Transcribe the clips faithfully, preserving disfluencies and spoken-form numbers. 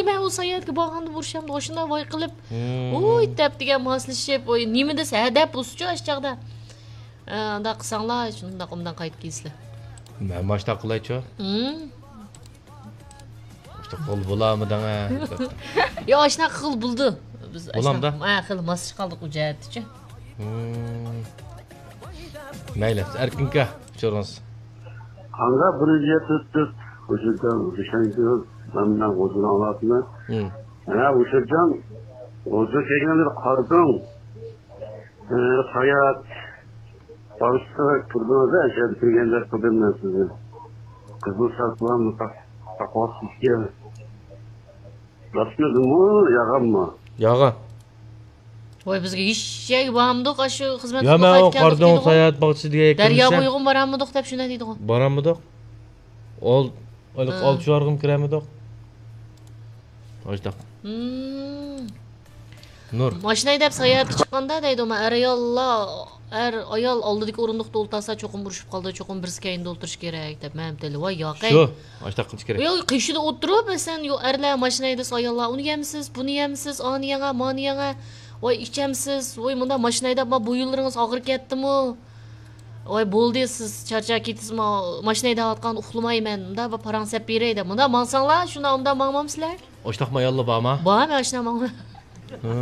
مەن ئۇ ساياھەتكە بارغاندا ئۇرۇشامدۇ، ئاشۇنداق ۋاي قىلىپ، ھىم. ۋوي دەپ دېگەن ماسلىشىپ، ۋوي نېمە دېسە، ھە دەپ بولسىچۇ ئاشۇ چاغدا. ئە، ئۇنداق قىلساڭلار، شۇنداق ئوبدان قايتىپ كېلىسىلەر. مەن ماشۇنداق قىلايچۇ. ھىم. ئاشۇنداق قىل بولامىدىڭ، ھە؟ يا، ئاشۇنداق قىل بولدى. بىز بولامدا؟ ئاشۇنداق، ھە، خېلى ماسلىشىپ قالدۇق ئۇ جەھەتتىچۇ. ھىم. مەيلى، ئەركىنكا، ئۇچۇرىڭىز. قانغا بىر يۈز يەتمىش تۆت، ھۇجرىدىن، ھۇجرىدىن، مەن بىلەن ھۇجرىنى ئاڭلاتىمەن. ھىم. ھە، ھۇجرىجان، ھۇجرا كەلگەندە قارىدىڭ. ئە، ساياھەت بارىسىغا كىردىڭىز، ئەشەدە كىرگەندە قىلدىم مەن سىزنى. قىزىل ساقلام، تاق-، تاقۋاسىزكەن. راستمىدىمۇ، ياغانمۇ؟ ياغان. ۋاي، بىزگە ھېچ يەرگە بارمىدۇق، ئاشۇ خىزمەت يا، قىلىپ مەن ئۇ قايتىپ كەلدۇق قاردىڭ دېدىغۇ. ساياھەت باغچىسى دېگەن دەريا بويىغىمۇ بارالمىدۇق دەپ شۇنداق دېدىغۇ. بارالمىدۇق. ئول-، ئول-، ھە. ئالتە شوئارغىمۇ كىرەلمىدۇق. ئاشتاق. ھىم. نۇر. ماشىنا ھەيدەپ ساياھەتكە چىققاندا دەيدۇ، مەن ئەر ئاياللار، ئەر ئايال ئالدىدىكى ئورۇندۇقتا ئولتۇرسا چوقۇم ئۇرۇشۇپ قالىدۇ، چوقۇم بىرسى كەينىدە ئولتۇرۇشى كېرەك دەپ مەن دېدىم. ۋاي ياقەي. شۇ، ئاشتاق قىلىش كېرەك. يا، قېشىدا ئولتۇرۇپ، مەسىلەن، يو، ئەرلەر ماشىنا ھەيدىسە ئاياللار، ئۇنى يەمسىز، بۇنى يەمسىز، ئانى يەڭە، مانى يەڭە، ۋاي ئىچەمسىز، ۋاي مۇنداق ماشىنا ھەيدەپ، ما بويۇنلىرىڭىز ئاغرىپ كەتتىمۇ؟ ۋاي بولدى، سىز چارچاپ كېتىسىزمۇ؟ ماشىنا ھەيدەۋاتقان ئۇخلىماي مەن، مۇنداق بىر پاراڭ سەپ بېرەي دەپ، مۇنداق ماڭساڭلار، شۇنداق ئۇنداق ماڭمامسىلەر؟ ئاشتاقمۇ ئاياللار بارمۇ؟ بار، مەن ئاشۇنداق ماڭىمەن. ھە.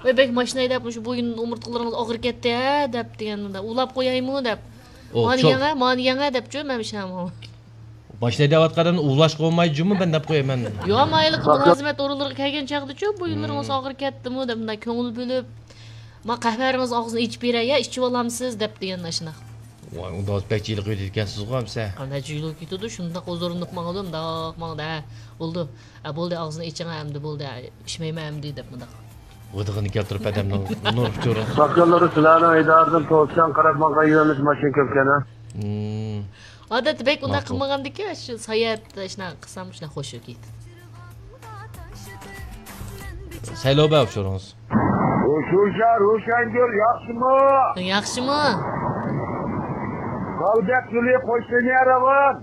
ۋاي بەك ماشىنا ھەيدەپ، مۇشۇ بويۇن ئومۇرتقىلىرىڭىز ئاغرىپ كەتتى ھە دەپ دېگەن، مۇنداق ئۇلاپ قويايمۇ دەپ. ئو، مانى چوق. يەڭە، مانى يەڭە دەپچۇ، مەن ئاشۇنداق ماڭىمەن. ماشىنا ھەيدەۋاتقاندىن ئۇۋلاشقا بولمايدۇ جۇمۇ، مەن دەپ قويىمەن. يا، مايلىق مۇلازىمەت ئورۇنلىرىغا كەلگەن چاغدىچۇ، بويۇنلىرىڭىز ھىم. ئاغرىپ كەتتىمۇ دەپ، مۇنداق كۆڭۈل بۆلۈپ، ما قەھۋەڭىز ئاغزىنى ئېچىپ بېرەي يا، ئىچىۋالامسىز دەپ دېگەن ئاشۇنداق. ۋاي، ئۇنداق بەك جىلىق ئۆتىدىكەنسىزغۇ ئەمسە. قانداق جىلىق كېتىدۇ، شۇنداق ھۇزۇرلىنىپ ماڭىدۇ، مۇنداق ماڭىدۇ، ھە، بولدى. ھە، بولدى، ئاغزىنى ئېچىڭ، ھە، ئەمدى بولدى، ھە، ئىچمەيمەن ئەمدى دەپ مۇنداق. غىدىقىنى كەلتۈرۈپ ئادەمنىڭ نۇر ئۇچۇرى. باققانلىرى سىلەرنىڭ ئىدارىدىن توسچان قاراپ ماڭغان يۆنىلىش ماشىنا كۆپكەن، ھە؟ ھىم. ئادەتتە بەك ئۇنداق ماقۇل. قىلمىغاندىكى، شۇ ساياھەت، شۇنداق قىلسام، شۇنداق خوش كېتىدۇ. سەيلو بەگ ئۇچۇرىڭىز. ئۇچۇرچان روشەنگۈل ياخشىمۇ؟ ياخشىمۇ؟ غەلىبە گۈلى قوش لىنىيە راۋان.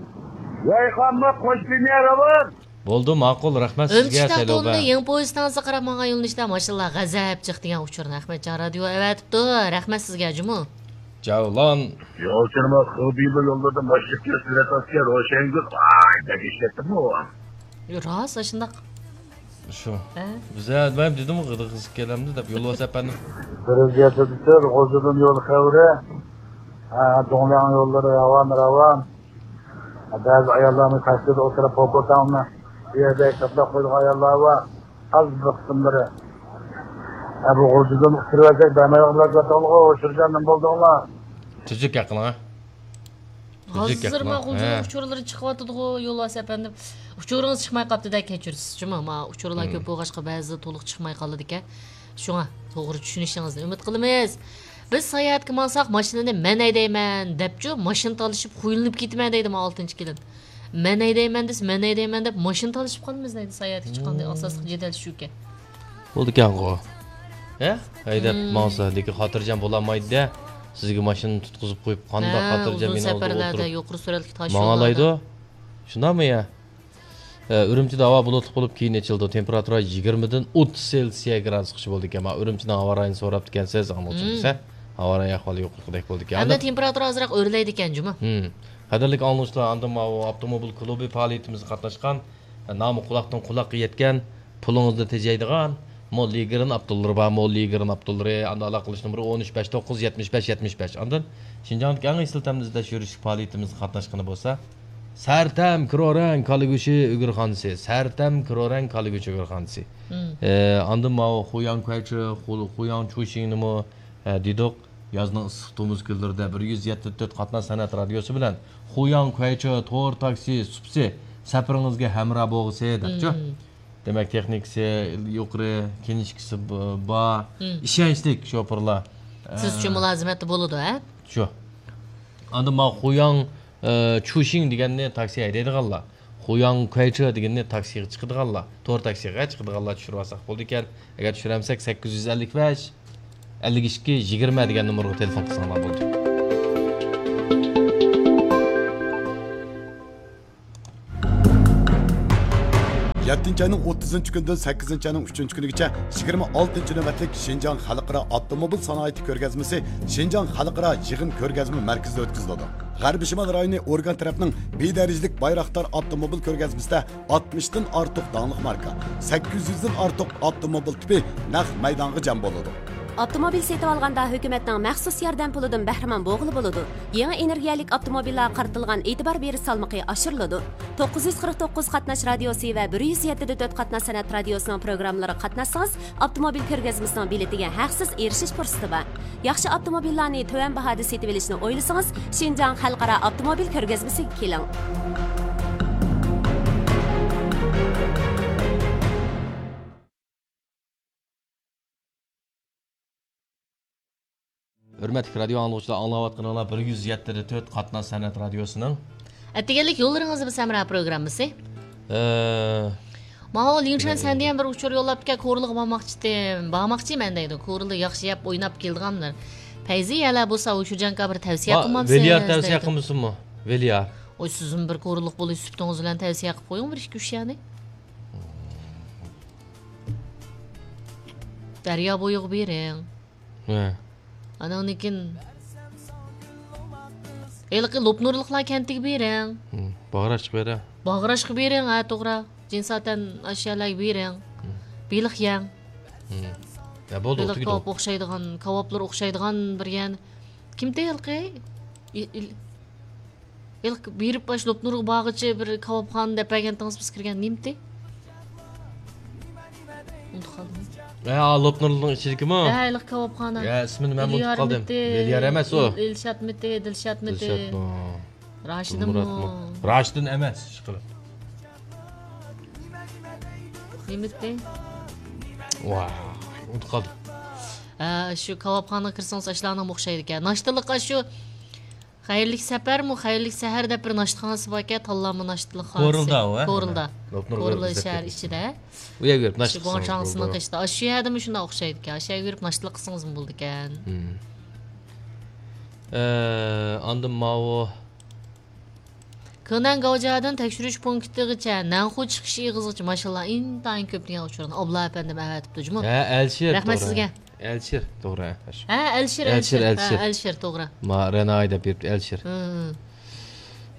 يايقانمۇ قوش لىنىيە راۋان. بولدى، ماقۇل، رەھمەت سىزگە، ئۆمىچىك سەيلو بەگ. تاختوننى يېڭى پويىزتاڭزا قاراپ ماڭغان يۆنىلىشتە ماشىنىلار غەزەپ چىقتى دېگەن ئۇچۇرنى ئەخمەتجان رادىيو ئەۋەتىپتۇ. رەھمەت سىزگە، جۇمۇ. جەۋلان. يولچىنىمىز خېبىبى يوللىرىدا ماشىنا كۆرسىتىۋاتاتتى، روشەنگۈل، ۋاي، بەك ئىشلەتتىمۇ؟ راست، ئاشۇنداق. شۇ. ھە؟ بىزە، مەن دېدىمغۇ، غىدىق قىزىپ كېلەمدۇ دەپ، يولۋاس ئەپەندىم. بىر يۈز يەتتە تۆت، غوزىدىن يول خەۋىرى. ھە، دۇڭلياڭ يوللىرى راۋان، راۋان. بەزى ئاياللارنى تاكسىدا ئولتۇرۇپ، پوپوتاڭنى بۇ يەردە ساقلاپ قويىدىغان ئاياللار بار. ئاز بىر قىسىملىرى. ھە، بۇ غۇلجىدىن ئۇچۇرۇۋەتسەك، بەرمەيدىغان بولۇپ كەتتىڭلارغۇ، ئۇچۇرجان، نېمە بولدۇڭلار؟ تۈزۈك ھەققىڭە. ھازىر ما غۇلجىنىڭ ئۇچۇرلىرى چىقىۋاتىدىغۇ، يولۋاس ئەپەندىم. ئۇچۇرىڭىز چىقماي قاپتۇ-دە، كەچۈرىسىز جۇمۇ. ما ئۇچۇرلار كۆپ بولغاچقا، بەزىدە تولۇق چىقماي قالىدىكەن. شۇڭا توغرا چۈشىنىشىڭىزنى ئۈمىد قىلىمىز. بىز ساياھەتكە ماڭساق، ماشىنىنى مەن ھەيدەيمەن دەپچۇ، ماشىنا تالىشىپ خۇيلىنىپ كېتىمەن دەيدۇ ما ئالتىنچى كېلىن. مەن ھەيدەيمەن دېسە، مەن ھەيدەيمەن دەپ ماشىنا تالىشىپ قالىمىز دەيدۇ، ساياھەتكە چىققاندا ئاساسلىق جېدەل شۇكەن. بولىدىكەنغۇ. ھە؟ ھەيدەپ ماڭسا، لېكىن خاتىرجەم بولالمايدۇ-دە. سىزگە ماشىنىنى تۇتقۇزۇپ قويۇپ، قانداق خاتىرجەم ماشىنا ئولتۇرۇپ يۇقىرى سۈرئەتلىك تاش يوللاردا ماڭالايدۇ؟ شۇنداقمۇ يا؟ ئە، ئۈرۈمچىدە ھاۋا بۇلۇتلۇق بولۇپ، كېيىن ئېچىلىدۇ. تېمپېراتۇرا يىگىرمىدىن ئوتتۇز سېلسىيە گرادۇسقىچە بولىدىكەن. مانا ئۈرۈمچىنىڭ ھاۋا رايىنى سوراپتىكەنسىز، ئاڭلىغۇچىمىز، ھە؟ ھاۋا رايى ئەھۋالى يۇقىرىقىدەك بولىدىكەن. ئەمدى تېمپېراتۇرا ئازراق ئۆرلەيدىكەن جۇمۇ. ھىم. قەدىرلىك ئاڭلىغۇچىلار، ئاندىن ماۋۇ ئاپتوموبىل كۇلۇبى پائالىيىتىمىزگە قاتناشقان، نامى قۇلاقتىن قۇلاققا يەتكەن، پۇلىڭىزنى تېجەيدىغان مول لىگىرىن ئاپتوللىرى بار، مول لىگىرىن ئاپتوللىرى. ئاندىن ئالاقىلىشىش نومۇرى ئون ئۈچ، بەش توققۇز، يەتمىش بەش، يەتمىش بەش. ئاندىن شىنجاڭدىكى ئەڭ ئېسىل تەمنى ئىزدەش يۈرۈشلۈك پائالىيىتىمىزگە قاتناشقىنى بولسا، سەرتەم كرورەڭ كالا گۆشى ئۆگرىخانىسى، سەرتەم كرورەڭ كالا گۆشى ئۆگرىخانىسى. مم. ئە، ئاندىن ماۋۇ خۇياڭ كۇەيچې، خۇ-، خۇياڭ چۇشىڭنىمۇ، ئە، دېدۇق. يازنىڭ ئىسسىق تومۇز كۈنلىرىدە بىر يۈز يەتتە تۆت قاتناش سەنئەت رادىيوسى بىلەن خۇياڭ كۇەيچې تور تاكسى سۇپىسى سەپىرىڭىزگە ھەمراھ بولغۇسى دەپچۇ. مم. دېمەك، تېخنىكىسى يۇقىرى، كىنىشكىسى ب-، بار، مم، ئىشەنچلىك شوپۇرلار. سىزچۇ ئە، مۇلازىمەتتە بولىدۇ، ھە؟ شۇ. ئاندىن ماۋۇ خۇياڭ، ئە، چۇشىڭ دېگەننى تاكسى ھەيدەيدىغانلار، خۇياڭ كۇەيچې دېگەننى تاكسىغا چىقىدىغانلار، تور تاكسىغا چىقىدىغانلار چۈشۈرۈۋالساق بولىدىكەن. ئەگەر چۈشۈرەلمىسەك، سەككىز يۈز ئەللىك بەش، ئەللىك ئىككى، يىگىرمە دېگەن نومۇرغا تېلېفون قىلساڭلار بولىدۇ. يەتتىنچى ئاينىڭ ئوتتۇزىنچى كۈنىدىن سەككىزىنچى ئاينىڭ ئۈچىنچى كۈنىگىچە يىگىرمە ئالتىنچى نۆۋەتلىك شىنجاڭ خەلقئارا ئاپتوموبىل سانائىتى كۆرگەزمىسى شىنجاڭ خەلقئارا يىغىن كۆرگەزمە مەركىزىدە ئۆتكۈزۈلىدۇ. غەربىي شىمال رايونى ئورگان تەرەپنىڭ بىر دەرىجىلىك بايراقدار ئاپتوموبىل كۆرگەزمىسىدە ئاتمىشتىن ئارتۇق داڭلىق ماركا، سەككىز يۈزدىن ئارتۇق ئاپتوموبىل تىپى نەق مەيدانغا جەم بولىدۇ. ئاپتوموبىل سېتىۋالغاندا ھۆكۈمەتنىڭ مەخسۇس ياردەم پۇلىدىن بەھرىمەن بولغىلى بولىدۇ. يېڭى ئېنېرگىيەلىك ئاپتوموبىللارغا قارىتىلغان ئېتىبار بېرىش سالمىقى ئاشۇرۇلىدۇ. توققۇز يۈز قىرىق توققۇز قاتناش رادىيوسى ۋە بىر يۈز يەتتە دە تۆت قاتناش سەنئەت رادىيوسىنىڭ پروگراممىلىرىغا قاتناشسىڭىز، ئاپتوموبىل كۆرگەزمىسىنىڭ بېلىتىگە ھەقسىز ئېرىشىش پۇرسىتى بار. ياخشى ئاپتوموبىللارنى تۆۋەن باھادا سېتىۋېلىشنى ئويلىسىڭىز، شىنجاڭ خەلقئارا ئاپتوموبىل كۆرگەزمىسىگە كېلىڭ. ھۆرمەتلىك رادىيو ئاڭلىغۇچىلار، ئاڭلاۋاتقىنىڭلار بىر يۈز يەتتە دە تۆت قاتناش سەنئەت رادىيوسىنىڭ ئەتىگەنلىك يوللىرىڭىز بىز ھەمراھ پروگراممىسى. ئە، ماۋۇ لىڭچۈەن سەندىن بىر ئۇچۇر يوللاپتىكەن، كورلىغا بارماقچىدىم، بارماقچىمەن دەيدۇ. كورلا ياخشى يەپ ئويناپ كېلىدىغانلار. پەيزى يەلە بولسا ئۇ شۇجياڭغا بىر تەۋسىيە قىلمامسىز؟ ۋېليار تەۋسىيە قىلمىسۇنمۇ؟ ۋېليار. ئوي، سىزمۇ بىر كورلۇق بولۇش سۈپىتىڭىز بىلەن تەۋسىيە قىلىپ قويۇڭ بىر ئىككى ئۈچ يەرنى. دەريا بويىغا بېرىڭ. ھە. ئاناندىن كېيىن ھېلىقى لوپنۇرلۇقلار كەنتىگە بېرىڭ. ھىم، باغراشقا بېرىڭ. باغراشقا بېرىڭ، ھە، توغرا. جىنساتەن ئاشۇ يەرلەرگە بېرىڭ. ھىم. بېلىق يەڭ. ھىم. يا، بولدى، بېلىق تۈگىدى. كاۋاپ ئوخشايدىغان، كاۋاپلار ئوخشايدىغان بىر يەرنى. كىمتى ھېلىقى؟ ئىل-، ئىل-، ھېلىقى بېرىپ ئاشۇ لوپنۇرغا بارغۇچە بىر كاۋاپخانا دەپ بەرگەنتىڭىز بىز كىرگەن نېمىتى؟ ئۇنتۇپ قالدىم. ھە، لوپنۇرنىڭ ئىچىدىكىمۇ؟ ھە، ھېلىقى كاۋاپخانا. يا، ئىسمىنى مەن ئۇنتۇپ قالدىم. ئىليارمىتى، ۋېليار ئەمەس ئۇ. ئىل-، ئىلشاتمىتى، دىلشاتمىتى؟ دىلشاتمۇ؟ راشىدىنمۇ؟ مۇراتمۇ؟ راشىدىن ئەمەس، ئىشقىلىپ. نېمىتى؟ ۋاھ، ئۇنتۇپ قالدىم. ھە، شۇ كاۋاپخانىغا كىرسىڭىز ئاشۇلارنىڭ ئوخشايدىكەن. ناشتىلىق ئاشۇ خەيرلىك سەپەرمۇ، خەيرلىك سەھەر دەپ بىر ناشتىخانىسى باركەن، تاللانما ناشتىلىق خانىسى. كورلىدا ئۇ، ھە؟ كورلىدا. لوپنۇر كورلا كورلىدا شەھەر ئىچىدە. ئۇ يەرگە بېرىپ شۇ ناشتا قىلسىڭىز گۇاڭشاڭسىنىڭ بولىدۇ. قېشىدا. ئاشۇ يەردىمۇ شۇنداق ئوخشايدىكەن. ئاشۇ يەرگە بېرىپ ناشتىلىق قىلسىڭىزمۇ بولىدىكەن. ھىم. ئە، ئاندىن ماۋۇ كېنەن گاۋجيادىن تەكشۈرۈش پونكىتىغىچە، نەنخۇ چىقىش ئېغىزىغىچە ماشىنىلار ئىنتايىن كۆپ دېگەن ئۇچۇرنى ئابلا ئەپەندىم ئەۋەتىپتۇ جۇمۇ. ھە، ئەلشىر، رەھمەت توغرا. سىزگە. ئەلشىر، توغرا. ھە، ئەلشىر، ئەلشىر، ئەلشىر. ھە، ئەلشىر، توغرا. ما، رەناي دەپ بېرىپتۇ، ئەلشىر. ھە، ھە.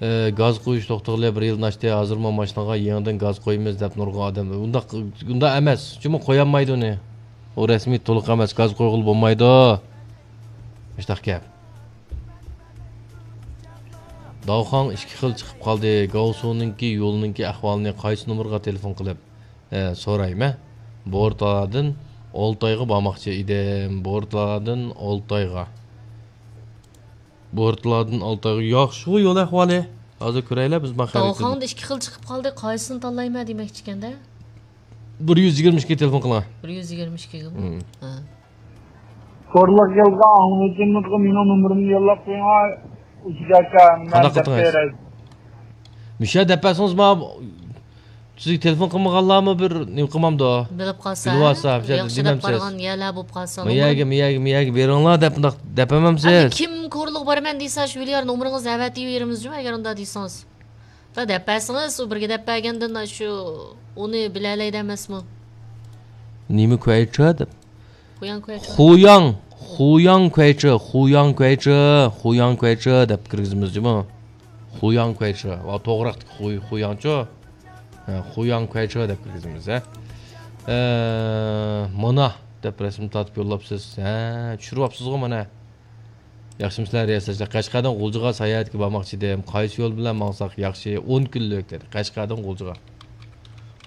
ئە، گاز قويۇش توختىغىلى بىر يىلدىن ئاشتى، ھازىرمۇ ماشىنىغا يېڭىدىن گاز قويىمىز دەپ نۇرغۇن ئادەم. ئۇنداق، ئۇنداق ئەمەس. جۇمۇ قويالمايدۇ ئۇنى. ئۇ رەسمىي تولۇق ئەمەس، گاز قويغىلى بولمايدۇ. مۇشۇنداق گەپ. داۋخاڭ ئىككى خىل چىقىپ قالدى. گاۋسۇنىڭكى يولنىڭكى ئەھۋالىنى قايسى نومۇرغا تېلېفون قىلىپ، ئە، سورايمەن؟ بورتالادىن ئولتايغا بارماقچى ئىدىم. بورتالادىن ئولتايغا. بورتالادىن ئولتايغا. ياخشىغۇ يول ئەھۋالى. ھازىر كۆرەيلى بىز ما خەرىتىنى. داۋخاڭدا ئىككى خىل چىقىپ قالدى. قايسىنى تاللايمەن دېمەكچىكەندە؟ بىر يۈز يىگىرمە ئىككىگە تېلېفون قىلىڭ. بىر يۈز يىگىرمە ئىككىگىمۇ؟ ھىم. ھە. كورلۇق يولغا ئاڭلىتىمىزغا مېنىڭ نومۇرۇمنى يوللاپ قويۇڭ. ئۇزاكا، مەن قانداق دەپ قىلدىڭىز؟ بېرەي. مۇشۇ يەردە دەپ بەرسىڭىز، ما سىزگە تېلېفون قىلمىغانلارمۇ بىر نېمە قىلمامدۇ؟ بىلىپ قالسا، بىلىۋالسا، مۇشۇ يەردە ياخشى دەپ دېمەمسىز؟ بارغان يەرلەر بولۇپ قالسا، ما يەرگە، ما يەرگە، ما يەرگە بېرىڭلار دەپ، مۇنداق دەپ بەرمەمسىز؟ ئەمدى كىم كورلۇققا بارىمەن دېسە، شۇ ۋىليار نومۇرىڭىزنى ئەۋەتىۋېرىمىز جۇمۇ، ئەگەر ئۇنداق دېسىڭىز. دا دەپ بەرسىڭىز، ئۇ بىرگە دەپ بەرگەندىن شۇ ئۇنى بىلەلەيدۇ ئەمەسمۇ؟ نېمە كۇەيچە دەپ؟ خۇياڭ كۇەيچە. خۇياڭ، خۇياڭ كۇەيچە، خۇياڭ كۇەيچە، خۇياڭ كۇەيچە دەپ كىرگۈزىمىز جۇمۇ. خۇياڭ كۇەيچە. ۋا، توغراقتىكى خۇي-، خۇياڭچۇ. ھە، خۇياڭ كۇەيچە دەپ كىرگۈزىمىز، ھە. ئە، مانا دەپ رەسىم تارتىپ يوللاپسىز. ھە، چۈشۈرۈۋاپسىزغۇ مانا. ياخشىمۇسىلەر رىياسەتچىلەر؟ قەشقەردىن غۇلجىغا ساياھەتكە بارماقچى ئىدىم. قايسى يول بىلەن ماڭساق ياخشى؟ ئون كۈنلۈك دېدى. قەشقەردىن غۇلجىغا.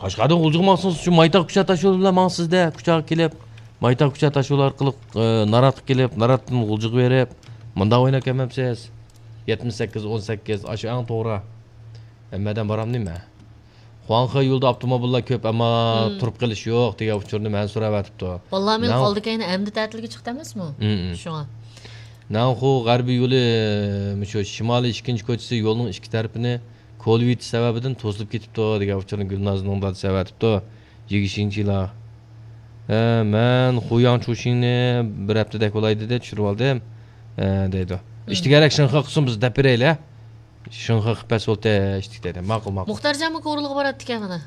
قەشقەردىن غۇلجىغا ماڭسىڭىز، شۇ مايتاغ كۇچا تاشيولى بىلەن ماڭىسىز-دە. كۇچاغا كېلىپ، مايتاغ كۇچا تاشيولى ئارقىلىق، ئى، ناراتقا كېلىپ، ناراتتىن غۇلجىغا بېرىپ، مۇنداق ئويناپ كەلمەمسىز؟ يەتمىش سەككىز، ئون سەككىز، ئاشۇ ئەڭ توغرا. ھەممەدىن بارامدىمەن؟ خۇاڭخې يولىدا ئاپتوموبىللار كۆپ، ئەمما مم. تۇرۇپ قېلىش يوق دېگەن ئۇچۇرنى مەن سوراۋاتىپتۇ. بالىلار مېنىڭ ناڭ-، ئالدى كەينى ئەمدى تەتىلگە چىقتى ئەمەسمۇ؟ مم، مم. شۇڭا. ناڭخۇ غەربىي يولى، مۇشۇ شىمالىي ئىككىنچى كوچىسى يولنىڭ ئىككى تەرىپىنى كولۋېتىش سەۋەبىدىن توسۇلۇپ كېتىپتۇ دېگەن ئۇچۇرنى گۈلنازنىڭ دادىسى ئەۋەتىپتۇ. يىگىشىڭچىلا. ھە، مەن خۇياڭ چۇشىڭنى بىر ھەپتىدەك بولاي دېدى، چۈشۈرۈۋالدىم، ھە، دەيدۇ. مم. ئىشتىگەرەك شىنخې قىلسۇن، بىز دەپ بېرەيلى. شىنخې قىلىپ بەرسە بولدى، ئىشتىك دەيدۇ. ماقۇل، ماقۇل. مۇختارجانمۇ كورلىغا باراتتىكەن مانا.